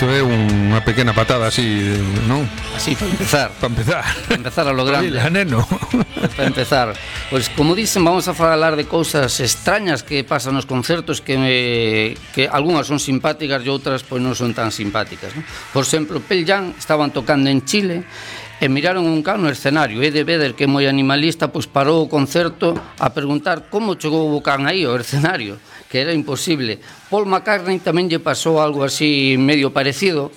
Isto é unha pequena patada así, non? Así, para empezar. Para empezar a lo grande. Oila, neno. Para empezar, pois como dicen, vamos a falar de cousas extrañas que pasan nos concertos que algunhas son simpáticas e outras pois non son tan simpáticas, non? Por exemplo, Pearl Jam estaban tocando en Chile e miraron un can no escenario. Eddie Vedder, que é moi animalista, pois parou o concerto a preguntar como chegou o can aí ao escenario, que era imposible. Paul McCartney tamén lle pasou algo así medio parecido.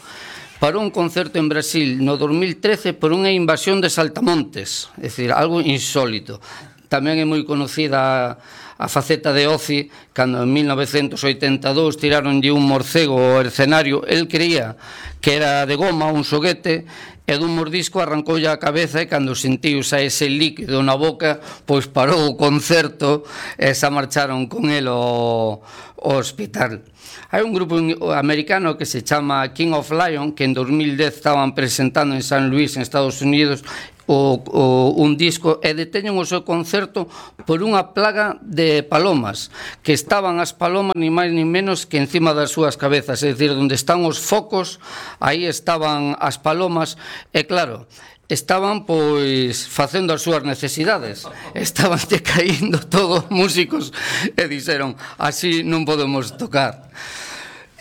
Parou un concerto en Brasil no 2013 por unha invasión de saltamontes, é dicir, algo insólito. Tamén é moi conocida a faceta de Ozzy, cando en 1982 tiraronlle un morcego ao escenario. El creía que era de goma, un xoguete, e dun mordisco arrancoulle a cabeza e cando sentiu xa ese líquido na boca, pois parou o concerto e xa marcharon con el ao hospital. Hai un grupo americano que se chama King of Lion, que en 2010 estaban presentando en San Luis, en Estados Unidos, un disco, e deteñen o seu concerto por unha plaga de palomas, que estaban as palomas ni máis ni menos que encima das súas cabezas, é dicir, onde están os focos, aí estaban as palomas, e claro, estaban pois facendo as súas necesidades, estaban caindo todos músicos e dixeron, así non podemos tocar.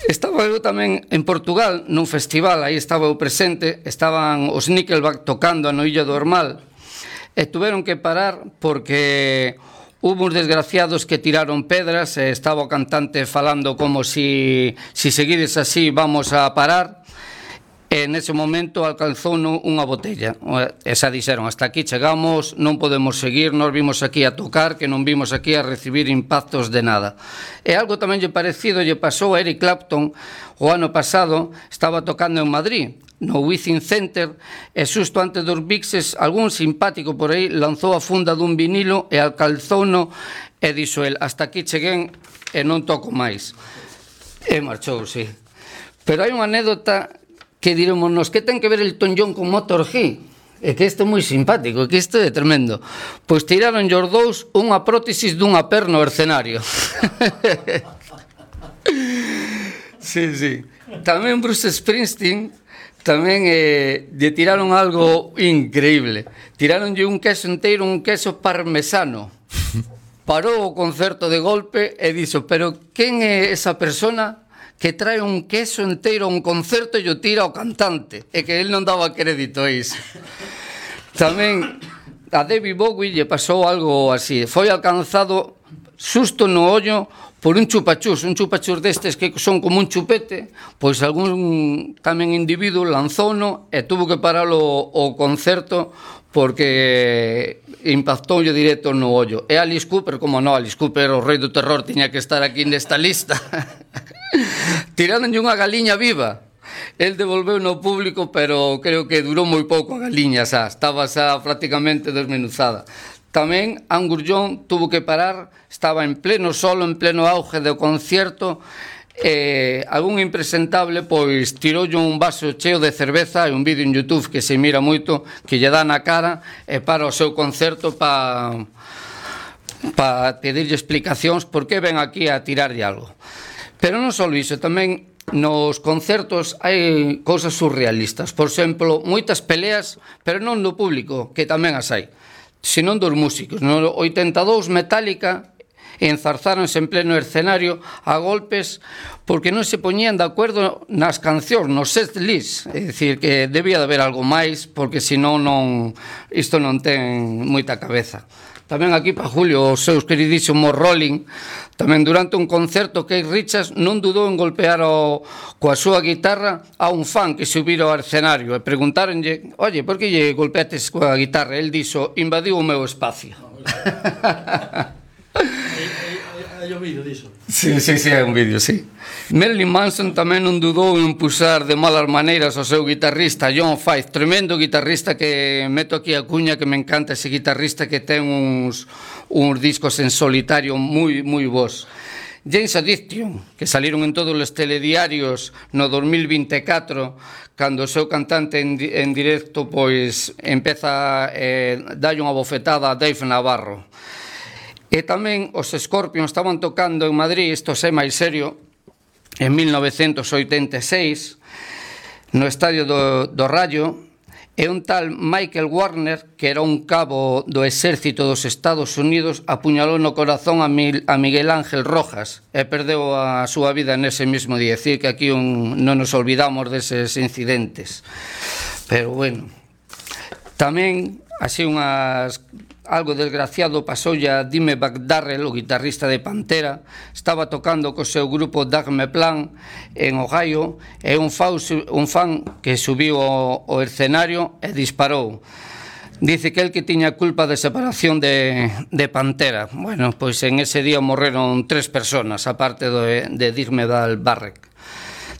Estaba eu tamén en Portugal nun festival, aí estaba eu presente, estaban os Nickelback tocando na Illa do Ormal e tuveron que parar porque hubo uns desgraciados que tiraron pedras e estaba o cantante falando como si seguides así vamos a parar. E nese momento alcanzou unha botella e xa dixeron, hasta aquí chegamos, non podemos seguir, nós vimos aquí a tocar, que non vimos aquí a recibir impactos de nada. E algo tamén lle parecido lle pasou a Eric Clapton o ano pasado, estaba tocando en Madrid no Within Center e xusto antes dos Vixes algún simpático por aí lanzou a funda dun vinilo e alcanzouno e dixo el, hasta aquí cheguén e non toco máis, e marchou, sí. Pero hai unha anécdota que dirémonos, que ten que ver Elton John con Motorhead? É que isto é moi simpático, é que isto é tremendo. Pois tiraron os dous unha prótesis dunha perna ao escenario. Sí. Tamén Bruce Springsteen tamén lle tiraron algo increíble. Tiraronlle un queso enteiro, un queso parmesano. Parou o concerto de golpe e dixo, pero quen é esa persona que trae un queso enteiro a un concerto e o tira ao cantante, e que el non daba crédito a iso. Tamén a David Bowie lle pasou algo así, foi alcanzado xusto no ollo por un chupachús destes que son como un chupete, pois algún tamén individuo lanzouno e tuvo que paralo o concerto porque impactoulle directo no ollo. E Alice Cooper, como non, Alice Cooper, o rei do terror, tiña que estar aquí nesta lista. Tiráronlle unha galiña viva. El devolveu no público, pero creo que durou moi pouco a galiña, xa, estaba xa prácticamente desmenuzada. Tamén Angus Young tuvo que parar, estaba en pleno solo, en pleno auge do concierto, algún impresentable pois tiroulle un vaso cheo de cerveza e un vídeo en YouTube que se mira moito, que lle dá na cara e para o seu concerto para pedirlle explicacións por que ven aquí a tirarlle algo. Pero non só iso, tamén nos concertos hai cousas surrealistas. Por exemplo, moitas peleas, pero non do público, que tamén as hai, senón dos músicos. No 82 Metallica enzarzáronse en pleno escenario a golpes porque non se poñían de acordo nas cancións, nos set list, é dicir, que debía de haber algo máis porque senón isto non ten moita cabeza. Tamén aquí para Julio, os seus queridísimos Rolling, tamén durante un concerto Keith Richards non dudou en golpear coa súa guitarra a un fan que subira ao escenario e preguntáronlle, oye, por que lle golpeates coa guitarra? El dixo, invadiu o meu espacio. Hai un vídeo diso. Sí, hai un vídeo, sí. Marilyn Manson tamén non dudou en pusar de malas maneiras ao seu guitarrista John Fife, tremendo guitarrista, que meto aquí a cuña, que me encanta ese guitarrista, que ten uns discos en solitario moi bons. James Addiction, que saliron en todos os telediarios no 2024, cando o seu cantante en directo pois empeza a darlle unha bofetada a Dave Navarro. E tamén os Scorpions estaban tocando en Madrid, isto é máis serio, en 1986 no estadio do Rayo, e un tal Michael Warner, que era un cabo do exército dos Estados Unidos, apuñalou no corazón a Miguel Ángel Rojas e perdeu a súa vida nese mesmo día. É dicir, que aquí non nos olvidamos deses incidentes. Pero bueno, tamén así algo desgraciado pasoulle a Dimebag Darrell, o guitarrista de Pantera. Estaba tocando co seu grupo Dagme Plan en Ohio, e un fan que subiu ao escenario e disparou. Dice que el que tiña culpa de separación de Pantera. Bueno, pois en ese día morreron 3 personas, aparte de Dimebag Darrell.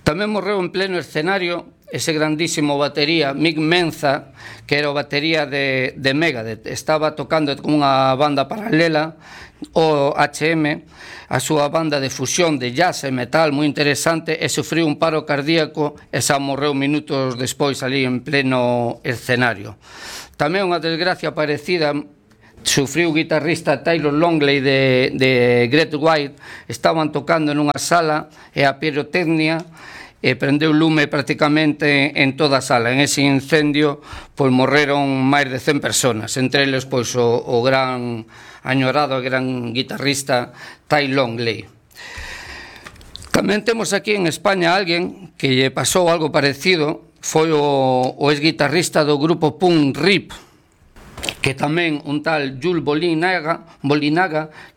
Tamén morreu en pleno escenario ese grandísimo batería Mick Menza, que era o batería de Megadeth. Estaba tocando con unha banda paralela, o HM, a súa banda de fusión de jazz e metal moi interesante, e sufriu un paro cardíaco e xa morreu minutos despois ali en pleno escenario. Tamén unha desgracia parecida sufriu o guitarrista Taylor Longley de Great White. Estaban tocando nunha sala e a pirotecnia e prendeu lume prácticamente en toda a sala. En ese incendio pois morreron máis de 100 personas, entre eles pois o gran añorado e gran guitarrista Ty Longley. Tamén temos aquí en España alguén que lle pasou algo parecido, foi o ex-guitarrista do grupo Punk Rip, que tamén un tal Jules Bolinaga,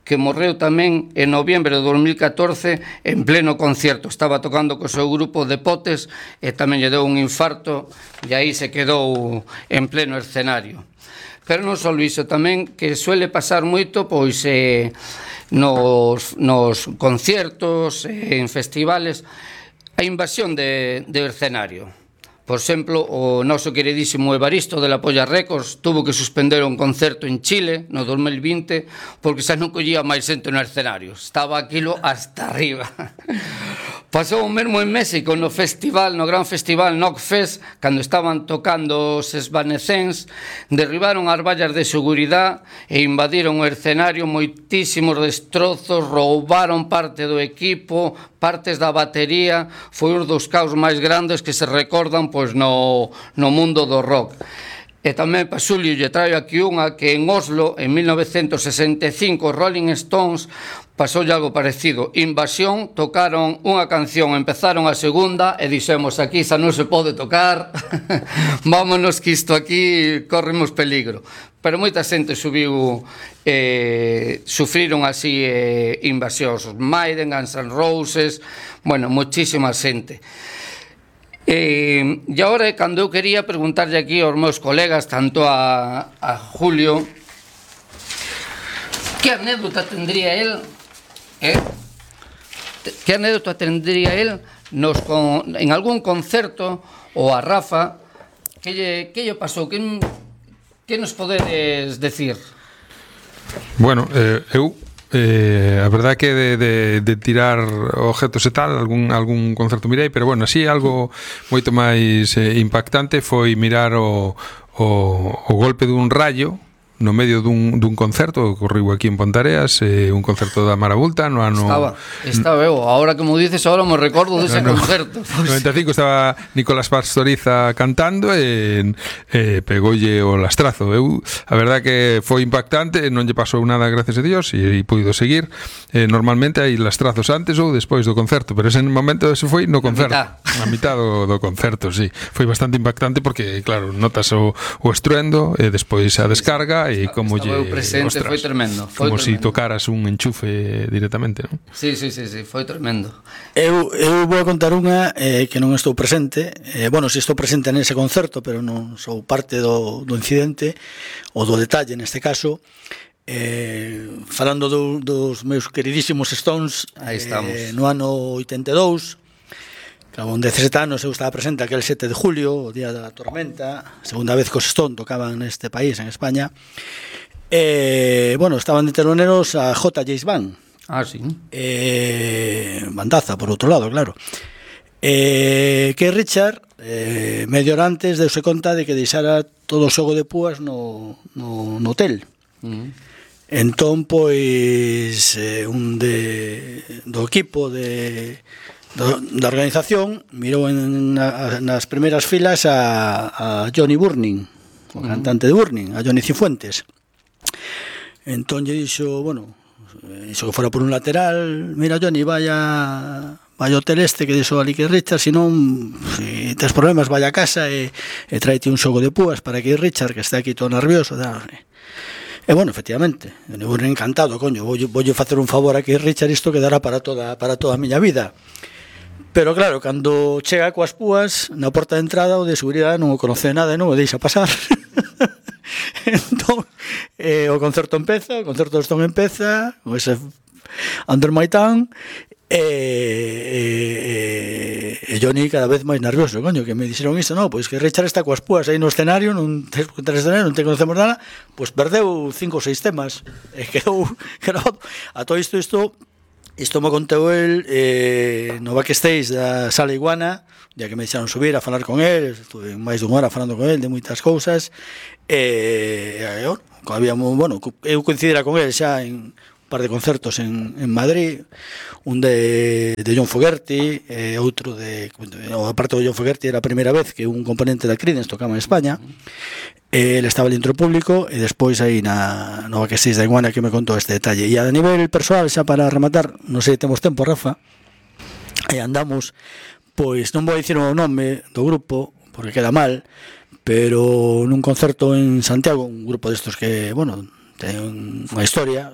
que morreu tamén en noviembre de 2014 en pleno concierto. Estaba tocando co seu grupo de Potes e tamén lle deu un infarto e aí se quedou en pleno escenario. Pero non só iso, tamén que suele pasar moito pois nos conciertos, en festivales, a invasión de escenario. Por exemplo, o noso queridísimo Evaristo de la Polla Records tuvo que suspender un concerto en Chile no 2020 porque xa non collía máis xente no escenario. Estaba aquilo hasta arriba. Pasou o mesmo en México no gran festival Knockfest, cando estaban tocando os Evanescence, derribaron as vallas de seguridade e invadiron o escenario, moitísimos destrozos, roubaron parte do equipo, partes da batería. Foi un dos caos máis grandes que se recordan pois no mundo do rock. E tamén para Xulio lle traio aquí unha que en Oslo, en 1965, Rolling Stones pasoulle algo parecido. Invasión, tocaron unha canción, empezaron a segunda e dixemos aquí xa non se pode tocar, vámonos que isto aquí corremos peligro. Pero moita xente sufriron así invasións, Maiden, Guns N' Roses, bueno, moitísima xente. E agora é cando eu quería preguntarlle aquí aos meus colegas, tanto a Julio, que anécdota tendría él en algún concerto, ou a Rafa, que lle pasou, que nos podedes decir? Bueno, eu a verdade que de tirar objetos e tal, algún concerto mirei, pero bueno, así algo moito máis impactante foi mirar o golpe dun rayo no medio dun concerto que ocorreu aquí en Pontareas, un concerto da Marabulta no ano... Estaba eu, ahora que me dices, ahora me recordo dese concerto. No 95 estaba Nicolás Pastoriza cantando e pegoulle o lastrazo. A verdade que foi impactante, non lle pasou nada, gracias a Dios, e puido seguir. Normalmente hai lastrazos antes ou despois do concerto, pero ese momento ese foi no concerto. A mitad do concerto, sí. Foi bastante impactante porque, claro, notas o estruendo e despois a descarga e como lle, presente, ostras, foi tremendo, como se si tocaras un enchufe directamente, non? Sí, foi tremendo. Eu vou a contar unha que non estou presente, bueno, si estou presente nese concerto, pero non sou parte do incidente ou do detalle neste caso. Falando dos meus queridísimos Stones, no ano 82, con 17 anos eu estaba presente aquel 7 de julio, o día da tormenta, segunda vez que os Stones tocaban neste país, en España. Bueno, estaban de teloneros a J. James Band. Ah, sí. Bandaza, por outro lado, claro. Que Richard, medio hora antes, deuse conta de que deixara todo o xogo de púas no hotel. Entón, pois, do equipo da organización mirou nas primeiras filas a Johnny Burning, o cantante de Burning, a Johnny Cifuentes. Entón lle dixo, bueno, iso que fora por un lateral, mira Johnny, vai ao hotel este que dixo ali que Richard, se non, se tes problemas, vai a casa e traite un xogo de púas para que Richard, que está aquí todo nervioso, e bueno, efectivamente, eu encantado, coño, voulle facer un favor aquí Richard, isto quedará para toda a miña vida. Pero claro, cando chega coas púas na porta de entrada, o de seguridade non o conoce nada e non o deixa pasar. Entón, o concerto empeza, o concerto do Stone empeza, con ese Under My Tongue, e Johnny cada vez máis nervioso, coño, que me dixeron isto, no, pois que Richard está coas púas aí no escenario, non te conocemos nada, pois perdeu 5 ou 6 temas, e quedou grabado. A todo isto me contou el no backstage da Sala Iguana, ya que me deixaron subir a falar con el, estuve máis dunha hora falando con el de moitas cousas, bueno, eu coincidira con el xa en un par de concertos en Madrid, un de John Fogerty, outro aparte do John Fogerty, era a primeira vez que un componente da Creedence tocaba en España. El estaba dentro público e despois aí no backstage da Iguana que me contou este detalle. E a nivel persoal, xa para rematar, non sei, temos tempo, Rafa, e andamos, pois non vou dicir o nome do grupo porque queda mal, pero nun concerto en Santiago, un grupo destos que, bueno, ten unha historia,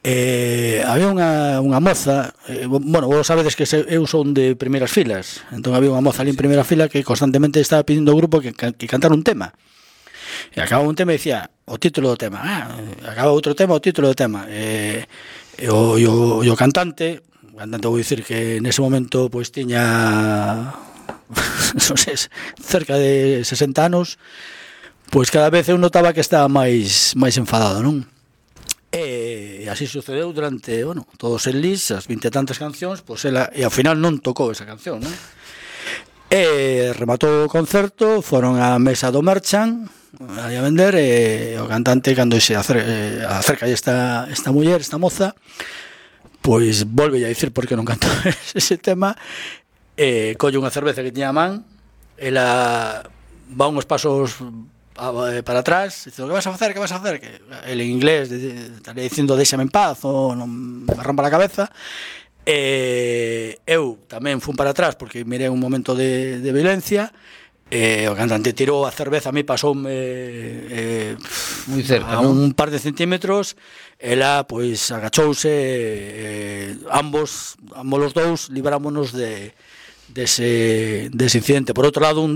había unha moza, bueno, vos sabedes que eu son de primeiras filas, entón había unha moza ali en primeira fila que constantemente estaba pedindo ao grupo que cantara un tema, e acababa un tema e dicía o título do tema, acababa outro tema, o título do tema, e o cantante vou dicir que nese momento pois tiña non sei, cerca de 60 anos, pois cada vez eu notaba que estaba máis enfadado, non? E así sucedeu durante, bueno, todos os list, as 20 e tantas cancións, pois ela, e ao final non tocou esa canción, non? E rematou o concerto, foron á mesa do Merchant a vender, e o cantante, cando se acerca esta muller, esta moza, pois volve a dicir por que non cantou ese tema, e colle unha cerveza que tiña a man, ela va uns pasos para atrás, dice, que vas a facer? Que el en inglés estaría dicindo déxame en paz ou non me rompa a cabeza. Eu tamén fun para atrás porque mirei un momento de violencia, o cantante tirou a cerveza, a mí pasoume moi cerca, a un par de centímetros, ela pois agachouse, ambos os dous librámonos dese incidente. Por outro lado,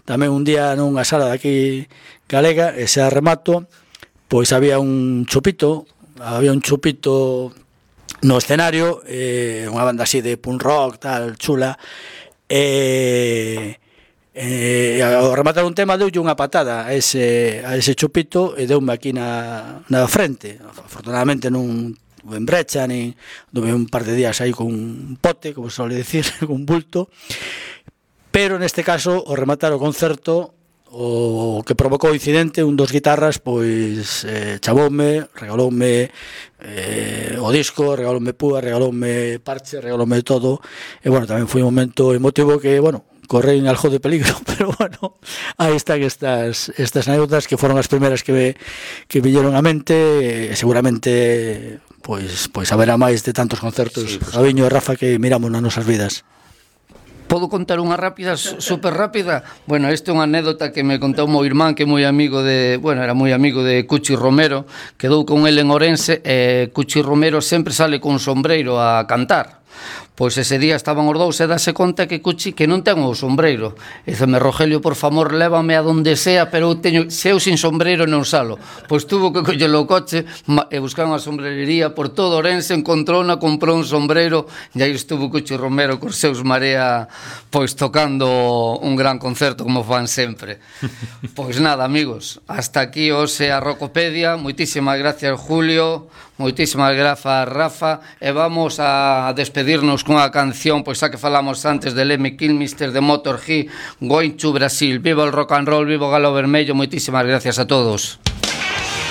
tamén un día nunha sala de aquí galega, e xa remato, pois había un chupito no escenario, unha banda así de punk rock, tal, chula, ao rematar un tema deulle unha patada a ese chupito e deume aquí na frente. Afortunadamente non en brecha, nin duve un par de días aí con un pote, como se suele decir, con un bulto, pero neste caso, ao rematar o concerto, o que provocou o incidente, un dos guitarras, pois chamoume, regaloume o disco, regaloume púa, regaloume parche, regaloume todo, e bueno, tamén foi un momento emotivo que, bueno, correi en algo de peligro, pero bueno, aí están estas anécdotas que foron as primeras que villeron a mente, e seguramente pois haberá máis de tantos concertos, Gabiño e Rafa, que miramos nas nosas vidas. Podo contar unha rápida, super rápida? Bueno, esta é unha anécdota que me contou o meu irmán, que é moi amigo era moi amigo de Cuchi Romero, quedou con ele en Ourense, e Cuchi Romero sempre sale con sombreiro a cantar. Pois ese día estaban os dous e dase conta que Cuchi que non ten o sombreiro. E diceme, Rogelio, por favor, lévame a donde sea, pero se eu sin sombreiro non salo. Pois tuvo que collelo o coche e buscar unha sombrerería por todo Ourense, encontrouna, comprou un sombreiro, e aí estuvo Cuchi Romero cos seus Marea, pois tocando un gran concerto como fan sempre. Pois nada, amigos, hasta aquí hoxe a Rocopedia. Moitísimas gracias, Julio. Moitísimas grazas, Rafa, e vamos a despedirnos cunha canción, pois xa que falamos antes de Lemmy Kilmister, de Motorhead, Going to Brasil. Viva el rock and roll, viva o Galo Vermello. Moitísimas gracias a todos.